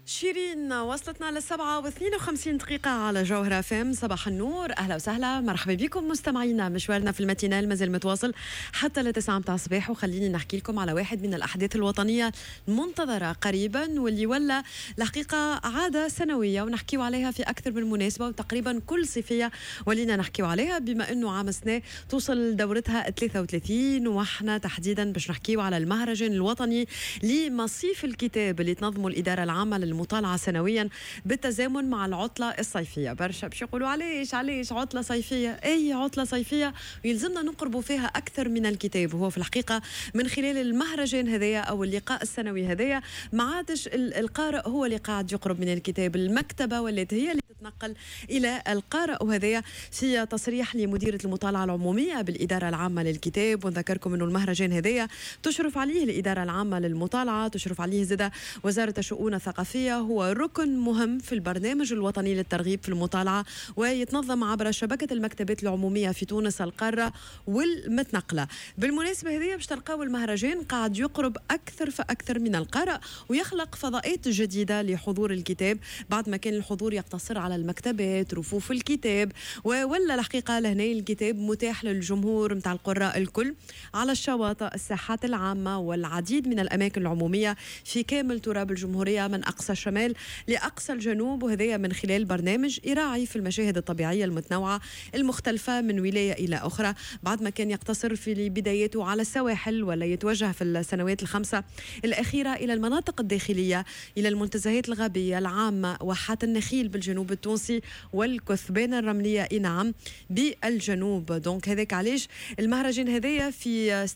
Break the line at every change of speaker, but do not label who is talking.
شيرين وصلتنا ل7:52 على جوهرة FM. صباح النور، اهلا وسهلا، مرحبا بكم مستمعينا. مشوارنا في ال matinale مازال متواصل حتى ل9 متاع الصباح، وخليني نحكي لكم على واحد من الاحداث الوطنية المنتظره قريبا واللي ولا الحقيقة عادة سنوية ونحكيو عليها في اكثر من مناسبه، وتقريبا كل صيفية ولينا نحكيو عليها، بما انه عام سنة توصل دورتها 33. واحنا تحديدا باش نحكيو على المهرجان الوطني لمصيف الكتاب اللي تنظمه الادارة العامة للمطالعة سنويا بالتزامن مع العطلة الصيفية. برشا باش يقولوا علاش علاش عطلة صيفية؟ أي عطلة صيفية يلزمنا نقربوا فيها أكثر من الكتاب. وهو في الحقيقة من خلال المهرجان هذايا أو اللقاء السنوي هذايا ما عادش القارئ هو اللي قاعد يقرب من الكتاب، المكتبة ولات هي اللي تتنقل إلى القارئ. وهذايا في تصريح لمديرة المطالعة العمومية بالإدارة العامة للكتاب. ونذكركم أنه المهرجان هذايا تشرف عليه الإدارة العامة للمطالعة، تشرف عليه زادة وزارة الشؤون الثقافية. هو ركن مهم في البرنامج الوطني للترغيب في المطالعة، ويتنظم عبر شبكة المكتبات العمومية في تونس القارة والمتنقلة. بالمناسبة هذه باش تلقاو المهرجان قاعد يقرب أكثر فأكثر من القارئ ويخلق فضاءات جديدة لحضور الكتاب، بعد ما كان الحضور يقتصر على المكتبات، رفوف الكتاب، ولا الحقيقة لهنا الكتاب متاح للجمهور متاع القراء الكل على الشواطئ، الساحات العامة والعديد من الأماكن العمومية في كامل تراب الجمهورية من أقصى الشمال لأقصى الجنوب. وهذا من خلال برنامج يراعي في المشاهد الطبيعية المتنوعة المختلفة من ولاية إلى أخرى، بعد ما كان يقتصر في بدايته على السواحل ولا يتوجه في السنوات الخمسة الأخيرة إلى المناطق الداخلية، إلى المنتزهات الغابية العامة، واحات النخيل بالجنوب التونسي والكثبان الرملية، إي نعم، بالجنوب. donc هذاك علاش المهرجان هذايا في